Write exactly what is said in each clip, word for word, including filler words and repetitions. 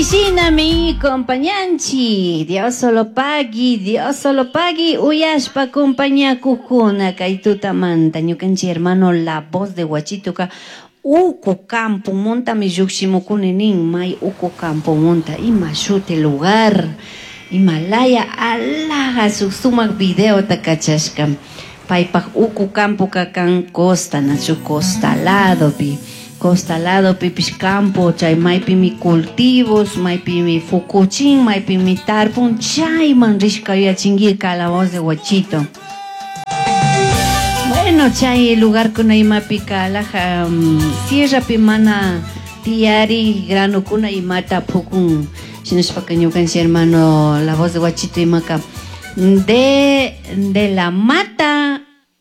Shinami compañanchi, Dios solo pagui, Dios solo pagui, uyashpa compañakukuna kay tutamanta ñukanchik hermano La Voz de Huachitoka uku campo montami llukshimukuni nin, may uku campo monta, ima shuti lugar, Himalaya alaja shuk sumak videota kachashka, paypak uku campoka kan costa, nachu costa ladopi. Costa lado pipish campo, chay maypimi cultivos, maypimi fukuchin, maypimi tarpun, chayman rishka yuyachinki La Voz de Huachito. Bueno, chay lugar kuna imapika alaja um, sierrapi mana tiyari granukuna imata pukun. Shinashpaka ñukanchik hermano La Voz de Huachito imaka de, de la mata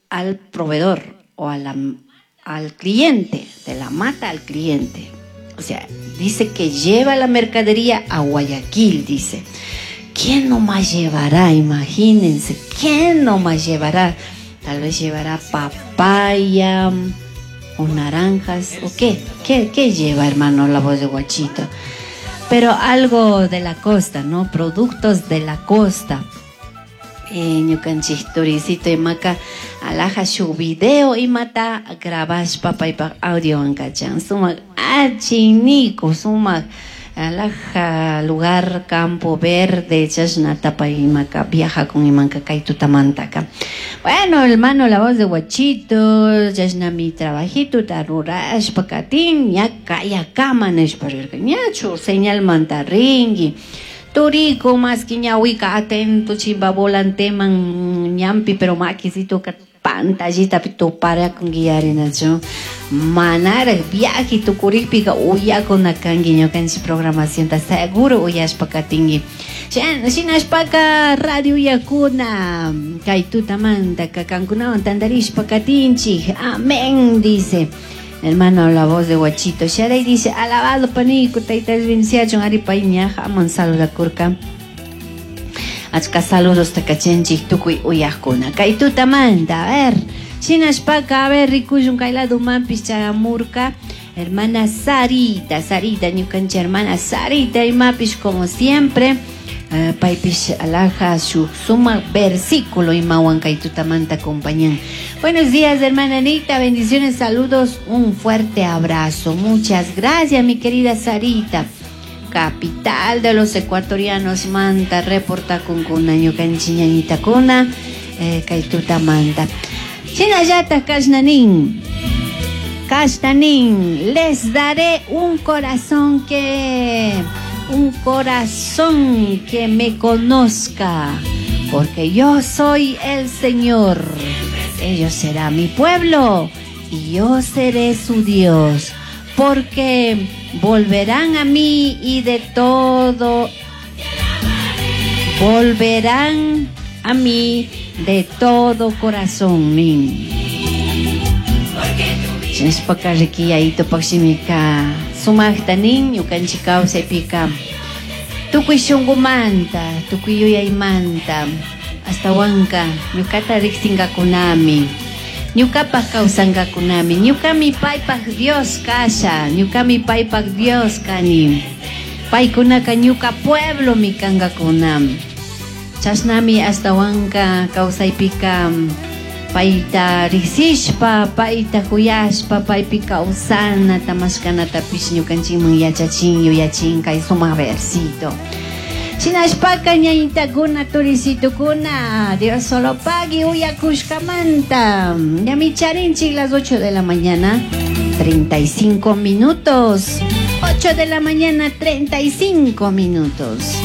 al proveedor o a la, al cliente, de la mata al cliente. O sea, dice que lleva la mercadería a Guayaquil, dice. ¿Quién no más llevará? Imagínense, ¿quién no más llevará? Tal vez llevará papaya o naranjas, ¿o qué? ¿Qué, qué lleva, hermano, La Voz de Huachito? Pero algo de la costa, ¿no? Productos de la costa. Eh, ñukanchik turicito imaka alaja shuk video imata grabashpa paypak audio kachan sumak achiniku sumak alaja lugar campo verde chashnata pay imaka viaja con imanka kay tutamantaka. Bueno, hermano La Voz de Huachito, chashnami trabajito ta rurashpa katin ña kayakama nishpa rirka ñachu señalmanta rinki. Turico más que ñahuica atento chimba volanteman ñampi pero maquisito pantallita tupara con guiarinachu manara viaje tukurikpika uyakuna kanki ñukanchik programación ta seguro uyashpa katinki. Shinashpaka radio uyakuna kay tutamanta kankunawan tantarishpa katinchik. Amén, dice hermano La Voz de Huachito. Sharay dice, alabado panico, tayta bendiciachun ari pay ñaja aman saludakurka. Achka saludos takachanchik tukuy uyaqkuna. Kay tutamanta, a ver, shinashpaka, a ver, rikushun kay ladumanpis chayamurka. Hermana Sarita, Sarita, ñukanchik hermana Sarita, imapish como siempre. Uh, paypish alaja shuk sumak versículo imawan kay tutamanta acompañan. Buenos días, hermana Anita, bendiciones, saludos, un fuerte abrazo. Muchas gracias, mi querida Sarita. Capital de los ecuatorianos, manta, reporta con kuna, ñukanchik ñañita kuna, eh, kay tutamanta. Shinallata kashnanin, kashnanin, les daré un corazón que... un corazón que me conozca, porque yo soy el Señor. Ellos serán mi pueblo y yo seré su Dios, porque volverán a mí y de todo, volverán a mí de todo corazón. Shinashpaka rikiyayto pakshimika sumakta nin ñukanchik kawsaypika tukuy shunqumanta tukuy yuyaymanta astawanka ñukata riqsinkakunami ñukapaq kawsankakunami ñukami paypaq Dios kasha ñukami paypaq Dios kani paykunaka ñuka pueblomi kankakunam chashnami astawanka kawsaypika payta riqsishpa, payta kuyashpa, paypi kawsana, tamashkanatapish ñukanchikman yachachin, yuyachin kay sumak versito. Shinashpaka ñañitakuna, turisitukuna, Dios solo pagui uyakushkamanta. Ñami charinchik las ocho de la mañana, treinta y cinco minutos. ocho de la mañana, treinta y cinco minutos.